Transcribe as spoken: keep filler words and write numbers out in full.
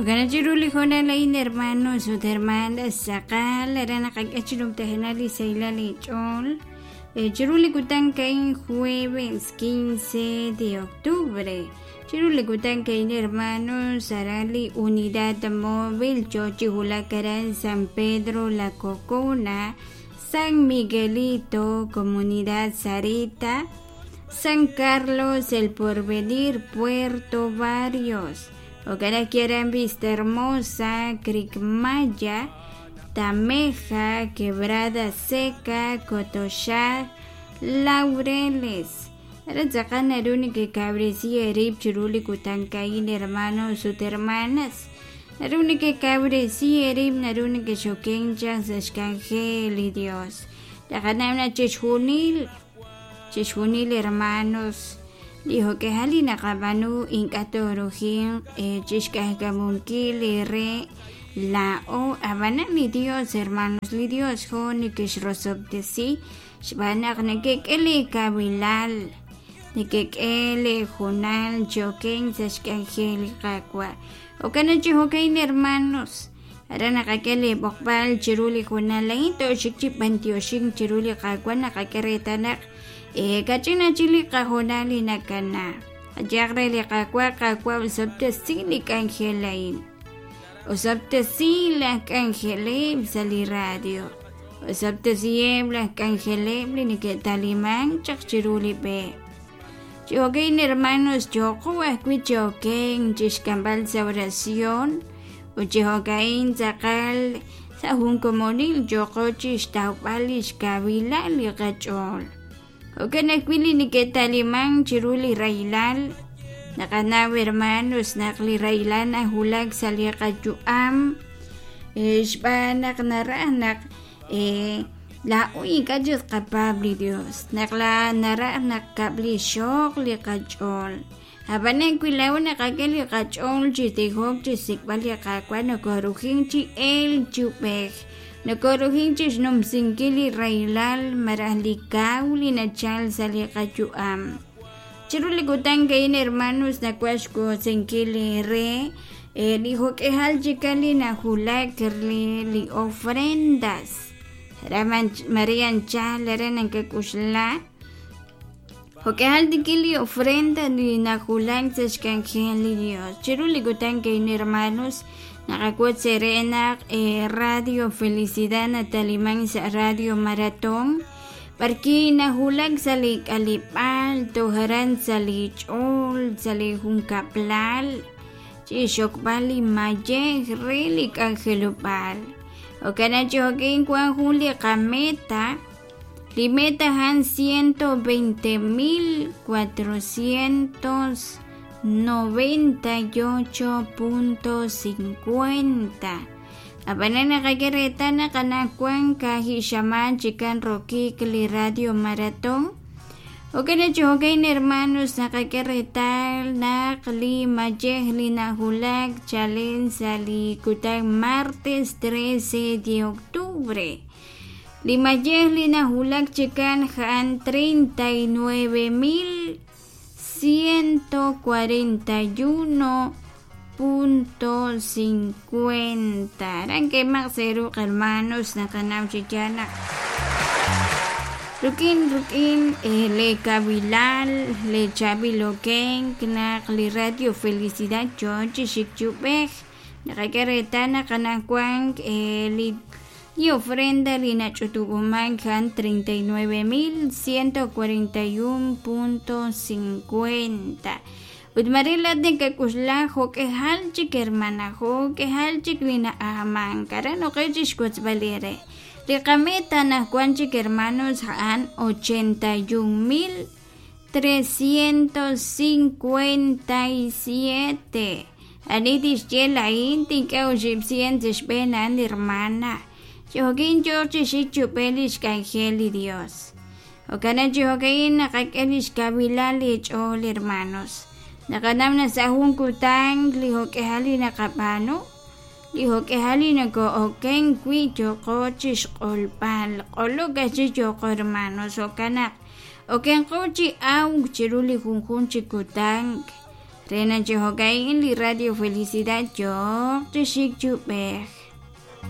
Jo'kan chiru li hoonal a'in hermanos ut hermanas tz'aqal aran naqak'e chi numtajenaq li sahilal li ch'ool chiru li kutan a'in jueves quince de octubre chiru li kutan a'in hermanos aran li unidad móvil yo chi wulak aran San Pedro La Cocona, San Miguelito, Comunidad Sarita, San Carlos El Porvenir, Puerto Barrios, Jo'kan aran Vista Hermosa, Cricmaya, Tameja, Quebrada Seca, Cotoxá, Laureles. Aran tz'aqal naru nekekawresi eerib' chiru li kutan a'in hermanos ut hermanas. Naru nekekawresi eerib' naru nekexoken chaq sa' xk'anjel li Dios. Taqanaw naq chixjunil chixjunil hermanos li jo'k'ejal li naqab'aanu ink'a' toorujinq chixk'ajk'amunkil re laa'o ab'anan li Dios hermanos li Dios jo nekexrosob'tesi xb'aan naq nekek'e li kawilal nekek'e li junal choken sa' xk'anjel li Qaawa' jo'kan naq chi jo'kan hermanos aran naqak'e li b'oqb'al chiru li junal a'in tooxik chi b'antioxink chiru li Qaawa' naqak'e reetal naq kach'ina chik li qahoonal li nakana qayaq re li Qaawa' Qaawa' osob'tesi li k'anjel a'in osob'tesi laj k'anjeleb' sa' li radio osob'tesiheb' laj k'anjeleb' li neke'talimank chaq chiru li b'e chi jo'kan hermanos yoqo ajwi' choken chixk'amb'al sa' oración ut chi jo'kan tz'aqal sa' jun komonil yoqo chixtawb'al li xkawilal li qach'ool jo'kan ajwi' li neke'talimank chiru li rahilal naqanaw hermanos naq li rahilal najulak sa' li qayu'am xb'aan naq naraj naq laa'o ink'a' chik qapaab' li Dios naq la naraj naq kab'li xoq li qach'ool ab'anan wi laa'o naqak'e li qach'ool chi tijok chi xsik'b'al li Qaawa' nokorujin chi el chi ub'ej nokorujin chi xnumsinkil li rahilal malaj li kaw li nachal sa' li qayu'am chiru li kutan a'in hermanos nawaj xwotsinkil re li jo'k'ejal chikan li najulak li li ofrendas Maria anchal aran nakak'uxla jo'k'ejal tikil li ofrenda li najulak sa' xk'anjel li Dios chiru li kutan a'in hermanos naqawotz ere naq Radio Felicidad nataliman sa' Radio Maratón b'arki najulak sa' li k'alib'al tojaran sa' li ch'ool sa' li junkab'lal chi xokb'al li mayej re li k'anjelob'aal jo'kan chi jo'kin wan jun li qameta li meta jan ciento veinte mil cuatrocientos noventa y ocho punto cincuenta ab'anan naqak'e reetal naq anaqwan kajixaman chikan rokik li Radio Maratón jo'kan chi jo'kan hermanos naqak'e reetal naq li mayej li najulak chalen sa' li kutan martes trece de octubre li mayej li najulak chikan jan treinta y nueve mil ciento cuarenta y uno punto cincuenta aran kemaq seruq hermanos naqanaw chi yaal naq rukin rukin le kabilal le chabiloken naq li Radio Felicidad yo chi xik chi ub'ej naqak'e reetal naq anaqwan li li ofrenda li nach'utub'uman jan treinta y nueve mil ciento cuarenta y uno punto cincuenta ut marila nekak'uxla jo'k'ejal chik hermana jo'k'ejal chik li na'ajmank aran oqej chi xwotzb'al ere li qameta anaqwan chik hermanos ja'an ochenta y un mil trescientos cincuenta y siete ani tixye la'in tink'e oxib' cien xb'een a'an hermana Chokin yo chi xik chub'el li xk'anjel li Dios jo'kan chi jo'kan naqak'e li xkawilal li ch'ool hermanos naqanaw naq sa' jun kutan li jo'k'ejal li naqab'aanu li jo'k'ejal li nako'oken wi' yoqo chi xq'olb'al q'olok ajchi yoqo hermanos jo'kan naq okenqo chi awk chiru li junjun chi kutan Re naq chi jo'ka'in li Radio Felicidad yooq chi xik chi ub'ej.